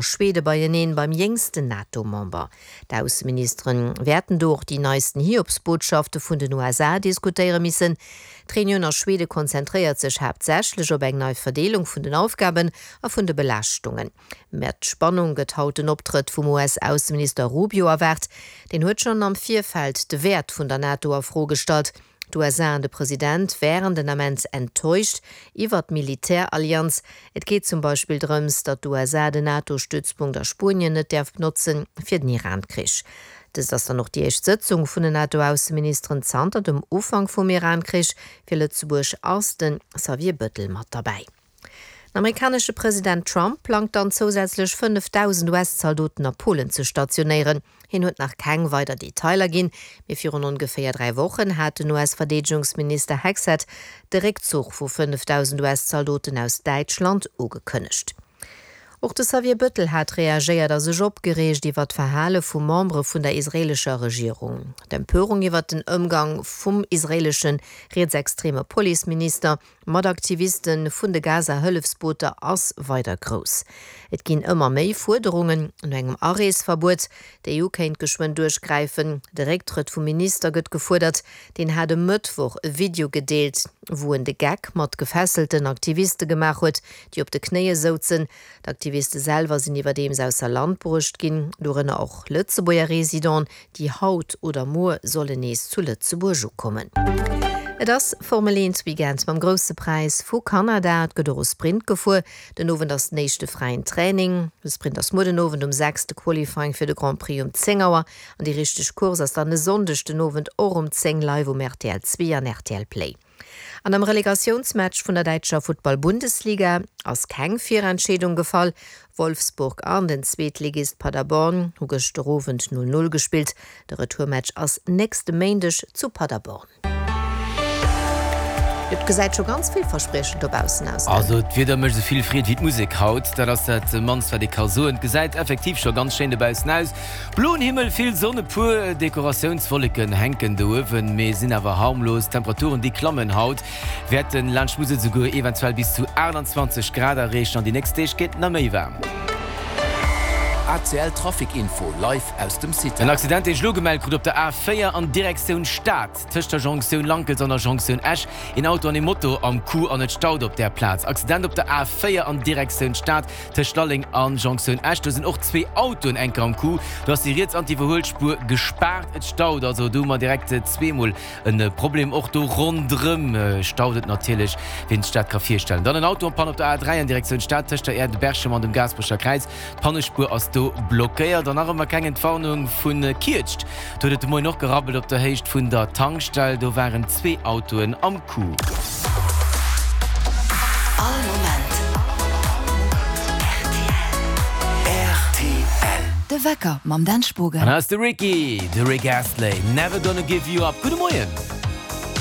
Schwede beieneen beim jéngsten NATO-Member. D'Ausseministere wäerten do och déi neisten Hiobsbotschafte vun den USA diskutéiere missen. D'Reunioun a Schwede konzentréiert sech haaptsächlech op eng nei Verdeelung vun den Aufgaben a vun de Belaaschtungen. Mat Spannung gëtt haut den Optrëtt vum US-Ausseminister Rubio erwaart. Deen huet schonn am Virfeld de Wäert vun der NATO a Fro gestallt. D'USA an de President wären den Ament enttäuscht iwwer d'Militärallianz. Et geet zum Beispill drëms, datt d'USA den NATO-Stützpunkt a Spuenien net däerf benotzen fir den Iran-Krich. Dëst ass dann och déi éischt Sëtzung vun den NATO-Ausseministeren zanter dem Ufank vum Iran-Krich. Fir Lëtzebuerg ass de Xavier Bëttel mat derbäi. Den amerikanesche President Trump plangt dann zousätzlech 5.000 US-Zaldoten a Polen ze stationéieren. Hien huet nach keng weider Detailer ginn, mee virun ongeféier 3 Wochen hat den US-Verdeedegungsminister Hegseth de Réckzuch vu 5.000 US-Zaldoten aus Däitschland ugekënnegt. Och de Xavier Bëttel hat reagéiert a sech opgereegt iwwer d'Verhale vu Membere vun der israeelescher Regierung. D'Empörung iwwer den Ëmgang vum israeelesche rietsextreme Policeminister Mat Aktiviste vun de Gaza-Hëllefsbooter ass weider grouss. Et ginn ëmmer méi Fuerderungen no engem Areesverbuet. D'EU kéint geschwënn duerchgräifen. De Récktrëtt vum Minister gëtt gefuerdert. Deen hat e Mëttwoch e Video gedeelt, wou en de Geck mat gefesselten Aktiviste gemaach huet, déi op de Knéie souzen. D'Aktiviste selwer sinn iwwerdeems ausser Land bruecht ginn, dorënner och Lëtzebuerger Residenten, déi haut oder muer sollen nees zu Lëtzebuerg ukommen. Et ass Formel 1 Weekend mam Grousse Präis vu Kanada. Et gëtt och e Sprint gefuer. Den Owend ass den éischte fräien Training. De Sprint ass muer den Owend um 6, de Qualifying fir de Grand Prix um 10 Auer an déi richteg Course ass dann e Sonndeg den Owend och um 10 live um rtl 2 an rtl Play. An am Relegatiounsmatch vun der däitscher Futtball-Bundesliga ass keng Virentscheedung gefall. Wolfsburg an den Zweetligist Paderborn hu gëschter Owend 0, 0 gespillt. De Retourmatch ass nächste Méindeg zu Paderborn. Et gesäit scho ganz villverspriechend dobaussen aus, gell? Also d'Wieder mécht esou vill Freed wéi d'Musek haut, dat ass dat mannst wat ee ka soen. Et gesäit effektiv scho ganz schéin dobaussen aus. Bloen Himmel, vill Sonn, e puer Dekoratiounswolleken hänken do uewen, mee sinn awer harmlos. D'Temperaturen déi klammen haut, wäerten laanscht Musel souguer eventuell bis zu 28 Grad erreechen an déi nächst Deeg gétt nach méi waarm. ACL Trafic Info live aus dem En Citar. Accident deen ech elo gemellt krut op der A4 an Direktioun Stad, tëscht der Jonktioun Lankels an der Jonktioun Esch. Een Auto an ee Moto am Coup an et staut op där Plaz. Accident op der A4 an Direktioun Stad, Tëscht Lalleng an Jonktioun Esch, do sinn och zwee Autoen enker am Coup. Do ass déi riets an d'Iwwerhuelspuer gespaart. Et staut also. Do hu mer direkt zweemol e Problem. Och do ronderëm staut et natierlech, wien sech dat ka virstellen. Dann en Auto en panne op der A3 an Direktioun Stad, tëscht der Aire de Berchem an dem Gaasperecher Kräiz. D'Pannespuer ass do blockéiert. An nach ëmmer keng Entwarnung vu Kietscht. Do huet et de Moien och gerabbelt op der Héicht vun der Tankstell. Do waren zwee Autoen am Coup. All Moment rtl. De Wecker mam Dan Spogen. An hei ass de Ricky, de Rick Astley, Never Gonna Give You Up. Gudde Moien.